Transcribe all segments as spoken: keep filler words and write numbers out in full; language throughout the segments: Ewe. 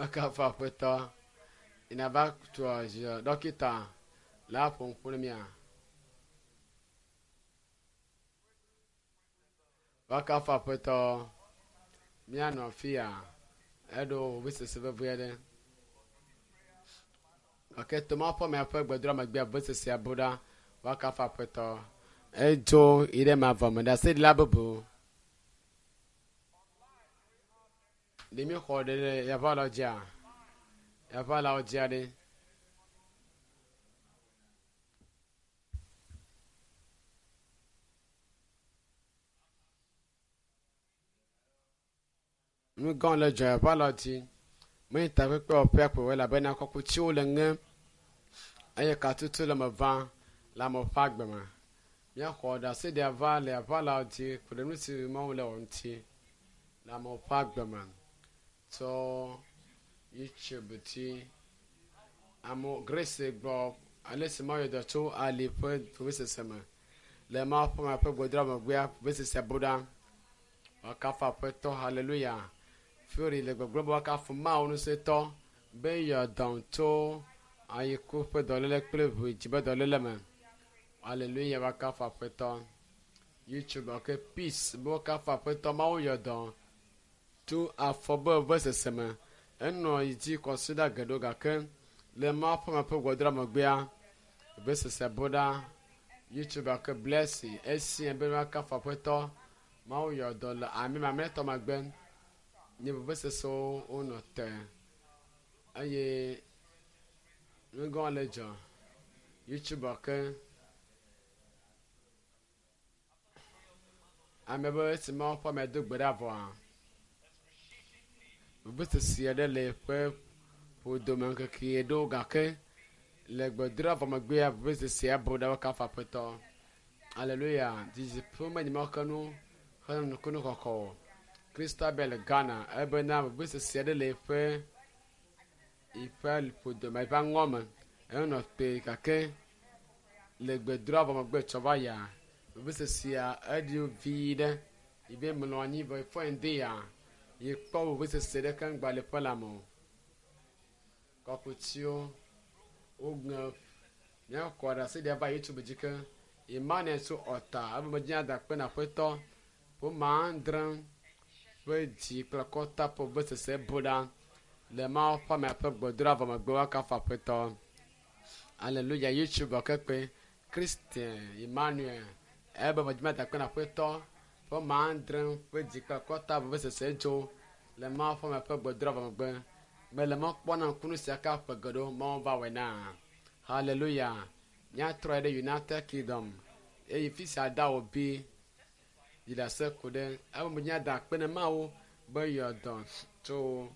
Woakafu Aƒetɔ. Yina va tɔ zi dɔkita le aƒo ŋku ne mía. Woakafu Aƒetɔ. Míanɔ afi ya eɖo vevesese vevie aɖe. Gake Toma ƒe amea ƒe gbedoɖa megbea vevesesea bu ɖa. Woakafu Aƒetɔ. Edzo yi ɖe mavɔ me ɖaseɖila bubu. Ɖe míexɔ ɖe ɖe yaʋalawo dzia? Yaʋalawo dzia ɖe. Nu gã le dzɔ yaʋalawo dzi. Menye takpekpe wɔƒea ko elabena kɔkutsiwo le ŋe eye katutu le me vam le amewo ƒe agbe me. Míaxɔ ɖaseɖia va le yaʋalawo dzi ku ɖe nu si Mawu le wɔ ŋuti le amewo ƒe agbe me. Tsɔ YouTube dzi. Amewo Grace gblɔ ale si Mawu yɔ dɔ tso ali ƒe vevesese me. Le Mawu ƒe ame ƒe gbedoɖa megbea vevesesea bu ɖa. Woakafu Aƒetɔ haleluya. Fury le gbɔgblɔm be woakafu Mawu ŋusẽtɔ be yɔ dɔm tso ayiku ƒe dɔléle kple ʋu dzi ƒe dɔléle me. Haleluya woakafu Aƒetɔ. YouTube ok peace be woakafu Aƒetɔ Mawu yɔ dɔ tso afɔ be vevesese me. Enɔ yi dzi kɔsiɖa geɖewo gake le Mawu ƒe ame ƒe gbedoɖa megbea vevesese bu ɖa. YouTube ok blessing esia be woakafu Aƒetɔ Mawu yɔ dɔ le ame mamlɛtɔ megbe. Nye vevesesewo wonɔ te eye nu gã le dzɔ. YouTube ke ame be esi Mawu ƒe ame do gbe ɖa vɔa vevesese aɖe le eƒe ƒodome ŋkeke ɖewo gake le gbedoɖa vɔ megbea vevesesea bu ɖa woakafu Aƒetɔ. Haleluya. Didiƒe menye Mawu ke nu henɔ nukunu xɔxɔ o. Christabel Ghana ebena vevesese aɖe le eƒe eƒe ƒodome eƒe aŋɔ me. Enɔ kpe gake le gbedoɖa vɔ megbe tsɔ va yia vevesesea eɖi vi ɖe yi be mlɔ anyi vɔ efɔ ŋdi ya yi kpɔ vevesese ɖeke ŋgba le ƒe lãme o. Kɔkutsiwo woŋe míakɔ ɖaseɖia va YouTube dzi ke Emmanuel tso Ɔta ebe medzi ada akpe na Aƒetɔ ƒome adre ƒe dzi kple akɔta ƒe vevesese bu ɖa le Mawu ƒe amea ƒe gbedoɖa vɔ megbe woakafu Aƒetɔ. Haleluya YouTube kekpe Christian Emmanuel ebe medzi ada akpe na Aƒetɔ ƒome adre ƒe dzi kple akɔta vevesese dzo le Mawu ƒe amea ƒe gbedoɖa vɔ megbe. Mele mɔ kpɔm na ŋkunu sia ka ƒe geɖewo Mawu va wɔe na. Haleluya. Míatrɔ ɖe United Kingdom eye fi sia da wo bi yi ɖase ku ɖe ebe medzi ada akpe na Mawu be yɔ dɔ tso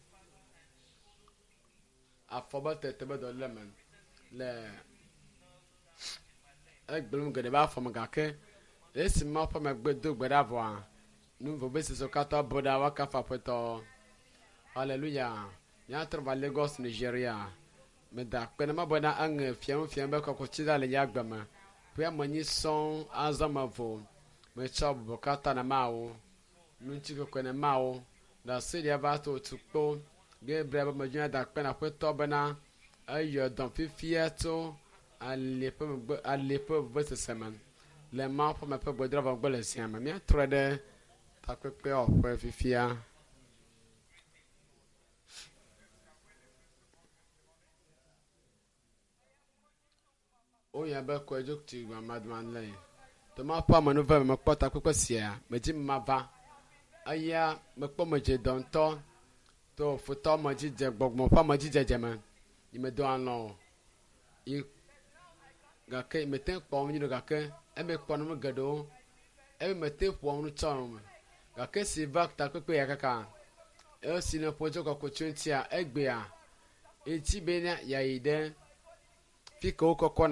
afɔ be tete be dɔléle me le egblẽm geɖe be afɔ me gake esi Mawu ƒe megbe do gbe ɖa vɔa nu vevesesewo katã bu ɖa woakafu Aƒetɔ. Haleluya. Míatrɔ va Lagos, Nigeria. Meda akpe na Mawu bena eŋe fiam fiam be kɔkutsi ɖa le nye agbe me. Ƒe ame nyi sɔŋ azɔ mevo. Metsɔ bubu katã na Mawu. Ŋutikɔkɔe na Mawu. Ɖaseɖia va to tukpo. Gabriel be medzi ada akpe na Aƒetɔ bena eyɔ dɔm fifia tso ali ƒe megbe ali ƒe vevesese me le Mawu ƒe ame ƒe gbedoɖa vɔ megbe le zia me. Míatrɔ ɖe takpekpe wɔƒe fifia. Woyɔe be Koedzokti Madmanle. Toma ƒe amenuve me mekpɔ takpekpe sia medzi mava. Eya mekpɔ medze dɔ ŋutɔ to futɔ me dzi dze gbɔgbɔ ƒe ame dzi dzedze me. Yi medo alɔ o. Yi gake mete kpɔ nu nyuie gake eme kpɔ nu geɖewo. Eme mete ƒoa nu tsɔ me. Gake si va takpekpe ya kaka esi ne ƒo tso kɔkutsi ŋutia egbea etsi be ne yeayi ɖe fi ke wokɔkɔna